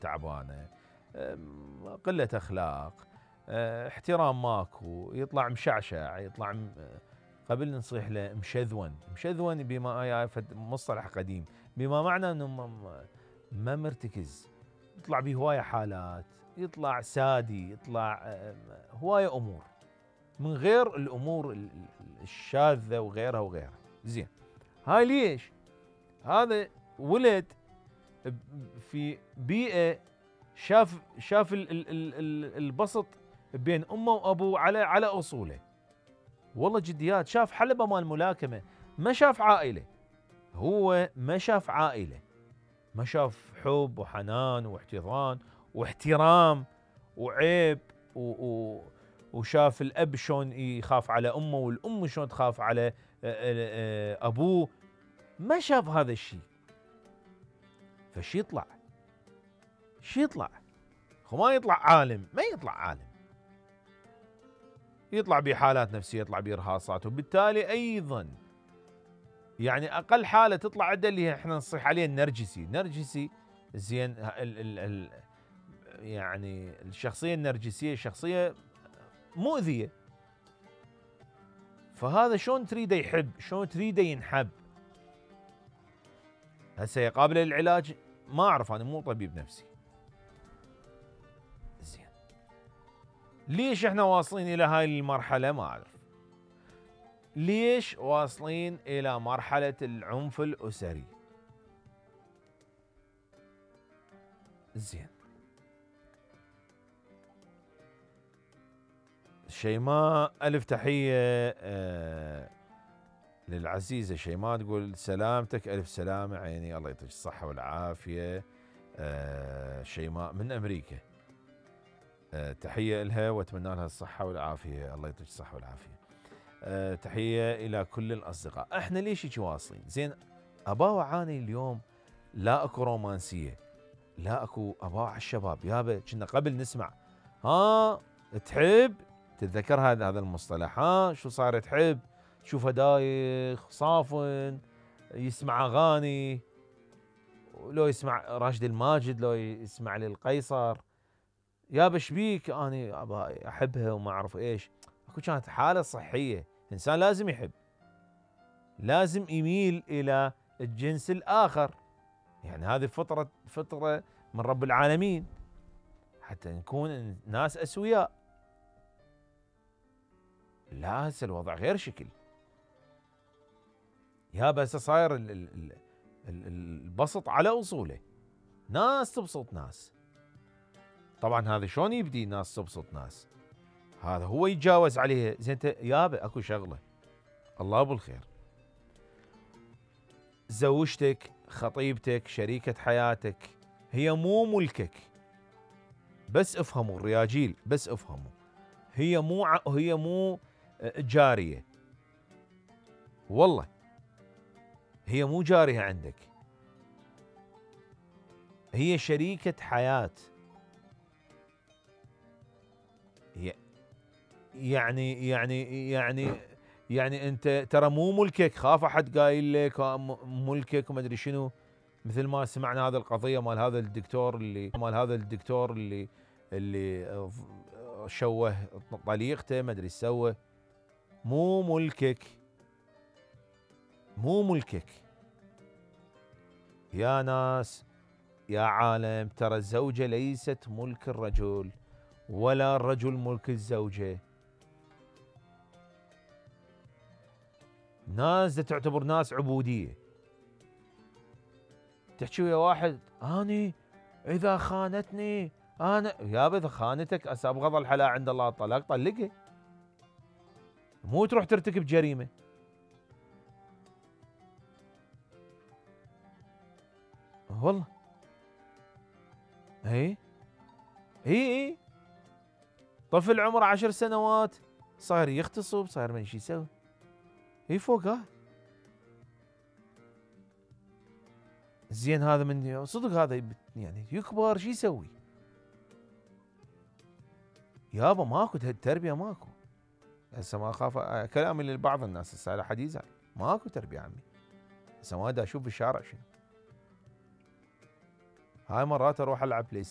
تعبانه، قله اخلاق، احترام ماكو، يطلع مشعشع، يطلع قبل نصيح له مشذون، مشذون بما هي مصطلح قديم بما معنى انه ما مرتكز، يطلع بهوايه حالات، يطلع سادي، يطلع هوايه امور من غير الامور الشاذه وغيرها وغيرها. زين، هاي ليش؟ هذا ولد في بيئه شاف البسط بين امه وابوه على اصوله. والله جديات، شاف حلبة مال ملاكمه، ما شاف عائله. هو ما شاف عائله، ما شاف حب وحنان واحتضان واحترام وعيب وشاف الاب شلون يخاف على امه والام شلون تخاف على ابوه. ما شاف هذا الشيء. فشي يطلع؟ شي يطلع؟ هو ما يطلع عالم، ما يطلع عالم، يطلع بحالات نفسيه، يطلع بارهاصات، وبالتالي ايضا يعني اقل حاله تطلع عنده اللي احنا نصيح عليه النرجسي. نرجسي زين، يعني الشخصيه النرجسيه شخصيه مؤذيه. فهذا شلون تريده يحب؟ شلون تريده ينحب؟ هسه يقابل العلاج؟ ما اعرف، انا مو طبيب نفسي. زين، ليش احنا واصلين الى هاي المرحله؟ ما اعرف ليش واصلين الى مرحله العنف الاسري. زين، شيماء الف تحيه للعزيزه شيماء، تقول سلامتك الف سلامه عيني، الله يعطيك الصحه والعافيه. شيماء من امريكا، تحيه لها واتمنى لها الصحه والعافيه، الله يعطيك الصحه والعافيه. تحيه الى كل الاصدقاء. احنا ليش هيك واصلين؟ زين، ابا اعاني اليوم لا اكو رومانسيه، لا اكو ابا الشباب يابا كنا قبل نسمع ها تحب، تتذكر هذا المصطلح، ها شو صار تحب، تشوفه دايخ صافن، يسمع اغاني، لو يسمع راشد الماجد، لو يسمع للقيصر، يابا شبيك اني ابا احبها وما اعرف ايش. اكو كانت حاله صحيه، انسان لازم يحب، لازم يميل الى الجنس الاخر، يعني هذه فطره من رب العالمين حتى نكون ناس اسوياء. لا هسه الوضع غير شكل يابا، هسه صاير البسط على اصوله، ناس تبسط ناس. طبعا هذا شلون يبدي ناس تبسط ناس؟ هذا هو يتجاوز عليها. زين انت يابا اكو شغله، الله بالخير، زوجتك، خطيبتك، شريكة حياتك هي مو ملكك. بس افهموا الرياجيل، بس افهموا، هي مو جارية، والله هي مو جارية عندك، هي شريكة حياة. يعني انت ترى مو ملكك. خاف احد قايل لك ملكك وما ادري شنو، مثل ما سمعنا هذا القضيه مال هذا الدكتور اللي شوه طليقته ما ادري ايش سوى. مو ملكك، مو ملكك يا ناس يا عالم. ترى الزوجه ليست ملك الرجل ولا الرجل ملك الزوجه. ناس تعتبر ناس عبوديه. تحكي ويا واحد اني اذا خانتني انا، يابا اذا خانتك ابغض الحلال عند الله الطلاق، طلقها، مو تروح ترتكب جريمه. والله اي طفل عمره 10 سنوات صاير يغتصب، صاير ما شي يسوي، فوق هاي. زين هذا من صدق هذا يعني يكبر شو يسوي؟ يابا ماكو تربيه، ماكو. هسه ما اخاف كلامي لبعض الناس هسه على حد يزعل، ماكو تربيه عمي. هسه ما دا اشوف بالشارع شنو. هاي مرات اروح العب بلاي